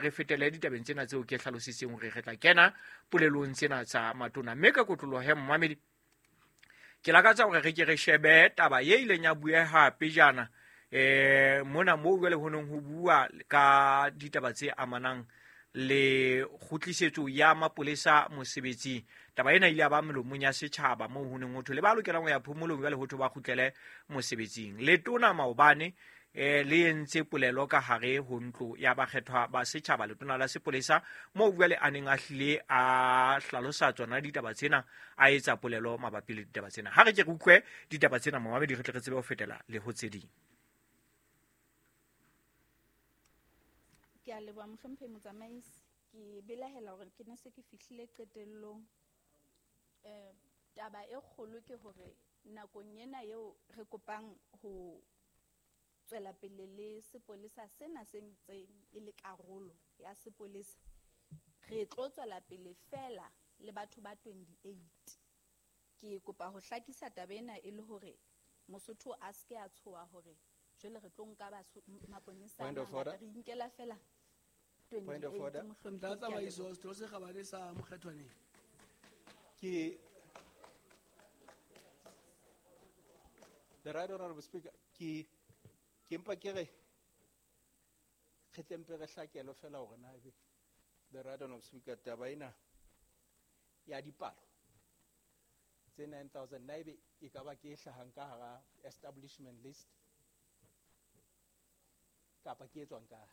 Re fetele ditabeng tsena tseo ke hlalositseng hore re tla kena polelong tsena tsa matona. Mme ka kotloloho he momamedi, ke lakatsa hore re ke re shebe taba e ileng ya bueha pejana mona moo jwale ho neng ho bua ka ditaba tse amanang le kgutlisetso ya mapolesa mosebetsing. Taba ena ile ya ba melomong ya setjhaba moo ho neng ho thwe le ba lokelang ho ya phomolong jwale ho thwe ba kgutlele mosebetsing. Letona maobane le entse polelo ka hare ho ntlo ya bakgethwa ba setjhaba, letona la sepolesa, moo jwale a neng a hlile a hlalosa tsona ditaba tsena, a etsa polelo mabapi le ditaba tsena. Ha re ke re utlwe ditaba tsena momamedi, re tle re tsebe ho fetela le ho tse ding. Ke a leboha mohlomphehi motsamaisi. Ke belahela hore ke ne se ke fihlile qetellong. Taba e kgolo ke hore nakong ena eo re kopang ho tswela pele le sepolesa sena se ntseng e le karolo ya sepolesa, re tlo tswela pele fela le batho ba 28. Ke kopa ho hlakisa taba ena e le hore Mosotho a se ke a tshoha hore jwale re tlo nka maponesa Point of a mangata, order. re inkela fela Point of 28 order. mohlomphehi, Ntlha ke a tsamaiso, leboha. setho se kgabane sa Mokgethwaneng. Ke The Right Honorable Speaker, ke mpa ke re re tle mpe re hlakelwe fela hore na ebe The Right Honorable Speaker, taba ena ya dipalo tse 9,000 na ebe e ka ba ke e hlahang ka hara establishment list kapa ke e tswang kae?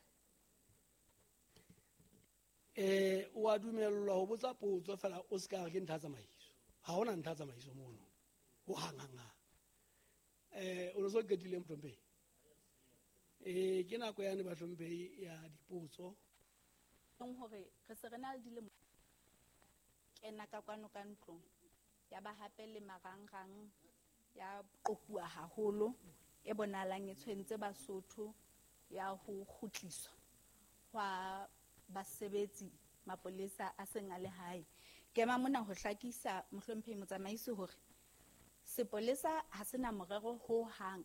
O a dumellwa ho botsa potso fela o se ka re ke ntlha tsamaiso. Ha hona ntlha tsamaiso mono. Ho hang hang hang. O no so qetile mohlomphehi? Ke nako yane bahlomphehi ya dipotso. Leng hore re se re na le dilemo kena ka kwano ka ntlong ya ba hape le marangrang ya qokuwa haholo e bonahalang e tshwentse Basotho ya ho kgutliswa hwa basebetsi mapolesa a seng a le hae. Ke ema mona ho hlakisa mohlomphehi motsamaisi hore sepolesa ha sena morero ho hang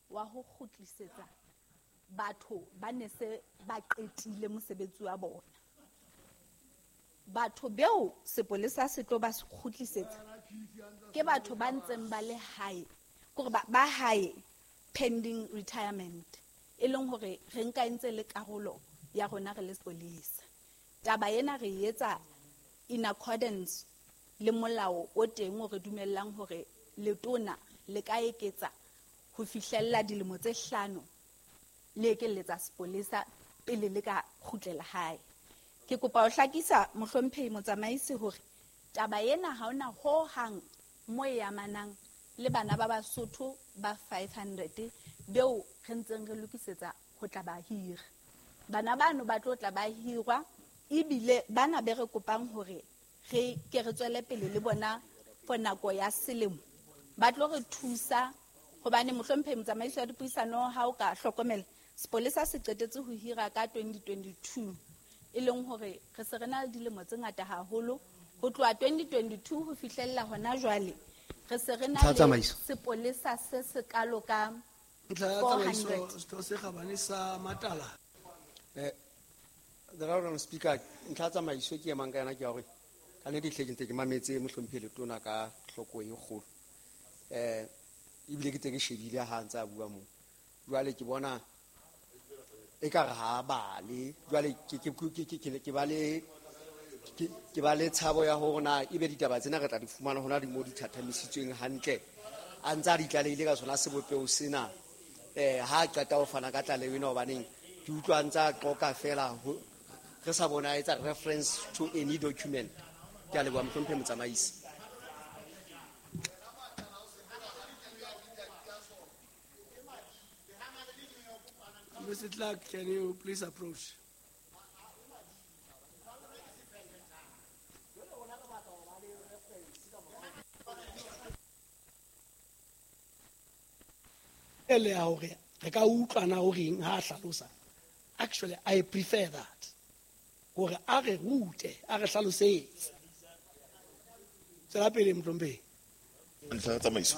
wa ho kgutlisetsa batho ba ne se ba qetile mosebetsi wa bona. Batho beo sepolesa se tlo ba kgutlisetsa ke batho ba ntseng ba le hae, kore ba hae pending retirement, e leng hore re nka e ntse le karolo ya rona re le sepolesa. Taba ena re e etsa in accordance le molao o teng o re dumellang hore letona le ka eketsa ho fihlella dilemo tse 5 le ekelletsa sepolesa pele le ka kgutlela hae. Ke kopa ho hlakisa mohlomphehi motsamaisi hore taba ena ha hona ho hang mo e amanang le bana ba Basotho ba 500 beo re ntseng re lokisetsa ho tla ba hira. Bana bano ba tlo tla ba hirwa, ebile bana be re kopang hore re ke re tswele pele le bona for nako ya selemo. Ba tlo re thusa hobane mohlomphehi motsamaisi wa dipuisano ha o ka hlokomela sepolesa se qetetse ho hira ka 2022, e leng hore re se re na le dilemo tse ngata haholo ho tloha 2022 ho fihlella hona jwale. Re se re na Ntlha ya le tsamaiso. sepolesa se sekalo ka Ntlha ya four tsamaiso, hundred. setho se kgabane sa Matala. The Right Honorable Speaker, ntlha ya tsamaiso ke emang ka yona ke ya hore ka nnete hle ke ntse ke mametse mohlomphehi letona ka hloko e kgolo. Ebile ke ntse ke shebile ha a ntse a bua moo. Jwale ke bona ekare ha a bale. Jwale ke ba le tshabo ya hore na ebe ditaba tsena re tla di fumana hona di mo di thathamisitsweng hantle. A ntse a di tlalehile ka sona sebopeho sena. Ha a qeta ho fana ka tlaleho ena, hobaneng ke utlwa a ntse a qoqa fela re sa bona a etsa reference to any document. Ke a leboha mohlomphehi motsamaisi. Mister Clark, can you please approach? Ele ya hore re ka utlwa na o reng ha a hlalosa. Actually, I prefer that. Hore a re rute, a re hlalosetse. Tswela pele, mohlomphehi. Ntlha ya tsamaiso.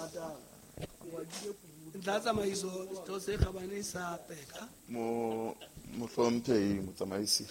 Ntlha ya tsamaiso, setho se kgabane sa Peka. Mohlomphehi motsamaisi.